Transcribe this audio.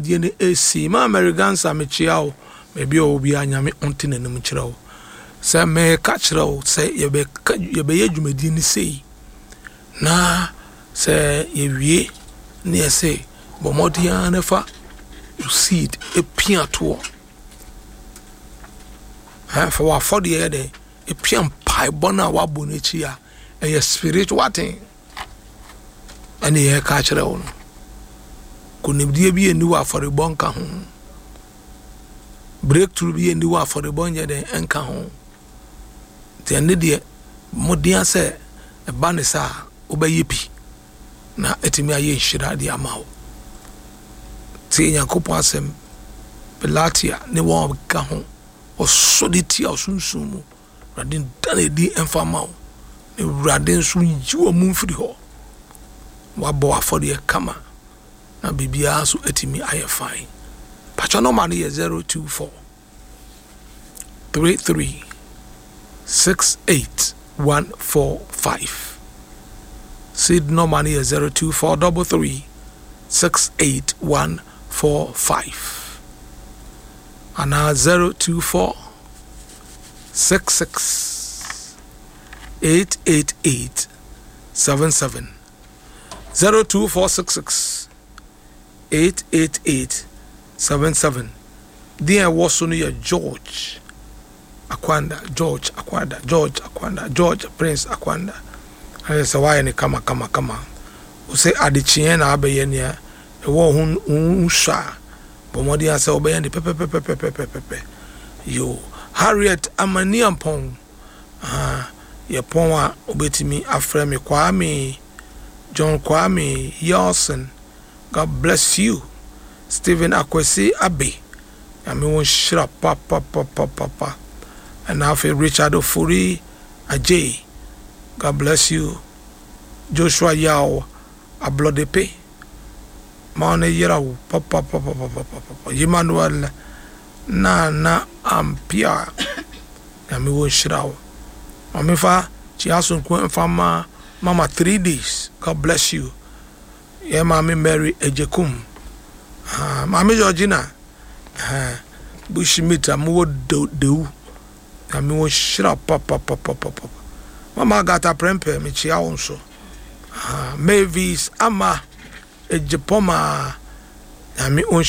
dwumadie no ɛsi. Ma Mary Gansa, mekyia wo baabi a ɔwɔ biara. Nyame ɔnte n'anim kyerɛ wo. Sɛ meka kyerɛ wo sɛ yɛbɛka, yɛbɛyɛ dwumadie no sei na sɛ yɛwie ne yɛsɛ bɔ mmɔden ara na fa wo seed pia toɔ. Fa w'afɔdeɛ yɛ dɛn epia mpaebɔ no a wabɔ no akyi a ɛyɛ spiritual thing ɛne yɛka kyerɛ wo no. Konimdie bi ɛni wɔ afɔrebɔ nka ho, breakthrough bi ɛni wɔ afɔrebɔ nyɛ dɛn ɛnka ho. Nti ɛne deɛ mmɔden sɛ ɛba ne saa wobɛyɛ bi na ɛtumi ayɛ nhyira de ama wo. Tie Nyankopɔn asɛm. Pelatia ne wɔn ka ho ɔsɔ de tia ɔsunsun mu, Awurade nda no adi mfa ma wo na Awurade nso yi wɔn mu mfiri hɔ. Wabɔ afɔdeɛ kama na biribiara nso atumi ayɛ fine. Patwa nɔma no yɛ 024 33 68 145. Seed nɔma no yɛ 024 33 68 145 anaa 024 66 888 77, 024 66 888 77. Deɛ ɛwɔ so no yɛ George Akwanda, George Akwanda, George Akwanda, George Prince Akwanda. Ayɛ sɛ wayɛ ne kama kama kama. Wosɛ adekyeɛ na abɛyɛ nea ɛwɔ ho ho sɔ a, bɔ mmɔden sɛ wobɛyɛ ne pɛpɛpɛpɛpɛpɛpɛ. Yo, Harriet Amaniampɔn, yɛpɔn a wobɛtumi afrɛ me Kwame John, Kwame Yelson. God bless you. Stephen Akwasi Abe, Nyame wo nhyira papapapapa. Ɛna afei Richard Ofori Ajay, God bless you. Joshua Yaw Ablɔdepe, ma ɔne yera wo papapapapapa. Emmanuel Nana Ampia, Nyame wo nhyira wo. Maame fa kyia sonko mfa ma Mama 3 Days, God bless you. Yɛ Maame Mary Ejekum, Maame Georgina Bushmeat a mowɔ Dewu, Nyame wo nhyira papapapapapa. Mama Agata Prɛmpɛ, mekyia wo nso. Mavis Ama Ejepɔma, Nyame wo nhyira.